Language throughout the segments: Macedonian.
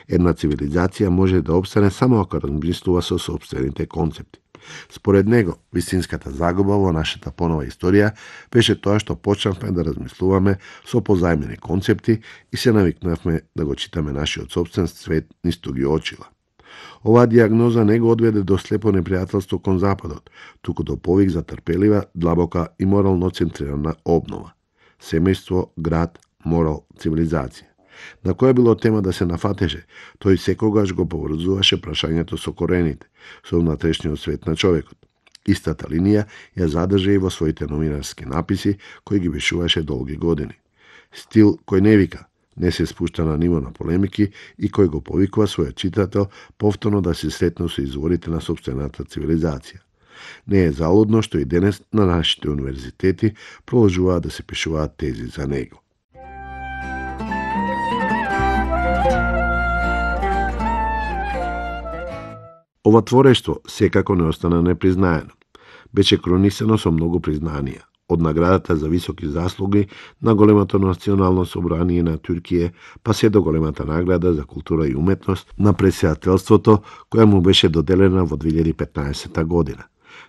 Една цивилизација може да обстане само ако размислува со сопствените концепти. Според него, вистинската загуба во нашата понова историја беше тоа што почнавме да размислуваме со позајмени концепти и се навикнавме да го читаме нашиот собствен свет низ туги очила. Оваа диагноза не го одведе до слепо непријателство кон Западот, туку до повик за трпелива, длабока и морално центрирана обнова. Семејство, град, морал, цивилизација. На која било тема да се нафатеше, тој секогаш го поврзуваше прашањето со корените, со внатрешниот свет на човекот. Истата линија ја задржа и во своите новинарски написи, кои ги вишуваше долги години. Стил кој не вика, не се спушта на ниво на полемики и кој го повикува својот читател повторно да се сретне со изворите на сопствената цивилизација. Не е залудно што и денес на нашите универзитети продолжуваат да се пишуваат тези за него. Ова творештво секако не остана непризнаено. Беше кронисано со многу признанија, од наградата за високи заслуги на големото национално собрание на Туркија, па се до големата награда за култура и уметност на председателството, која му беше доделена во 2015 година.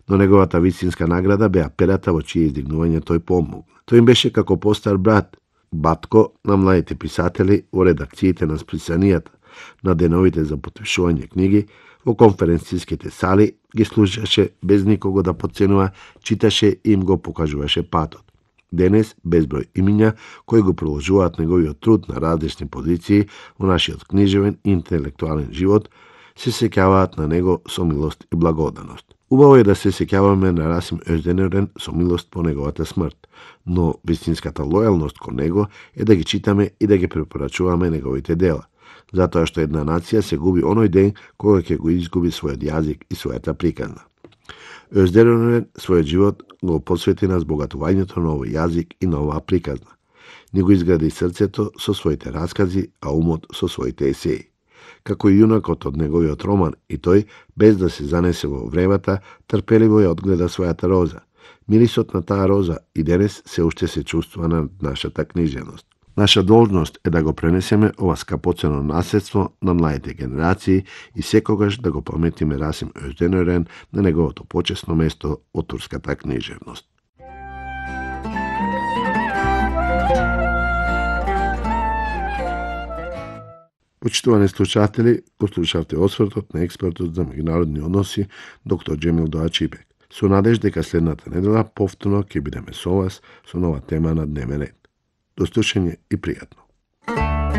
Но неговата вистинска награда беа перата во чие издигнување тој помогна. Тој им беше како постар брат, батко на младите писатели во редакциите на списанијата, на деновите за потпишување книги, во конференциските сали ги слушаше без никого да подценува, читаше и им го покажуваше патот. Денес, безброј имиња кои го продолжуваат неговиот труд на различни позиции во нашиот книжевен и интелектуален живот, се сеќаваат на него со милост и благодарност. Убаво е да се сеќаваме на Расим Özdенерен со милост по неговата смрт, но вистинската лојалност кон него е да ги читаме и да ги препорачуваме неговите дела, затоа што една нација се губи оној ден кога ќе го изгуби својот јазик и својата приказна. Özdенерен својот живот го посвети на збогатувањето на овој јазик и на оваа приказна. Ни го изгради срцето со своите раскази, а умот со своите есеи. Како и јунакот од неговиот роман, и тој, без да се занесе во вревата, трпеливо ја одгледа својата роза. Мирисот на таа роза и денес се уште се чувствува на нашата книжевност. Наша должност е да го пренесеме ова скапоцено наследство на младите генерации и секогаш да го паметиме Расим Özdенерен на неговото почесно место од турската книжевност. Почитувани слушатели, го слушавте освртот на експертот за меѓународни односи доктор Џемил Доачибек. Со надеж дека следната недела повторно ќе бидеме со вас со нова тема на дневен ред. До слушање и пријатно.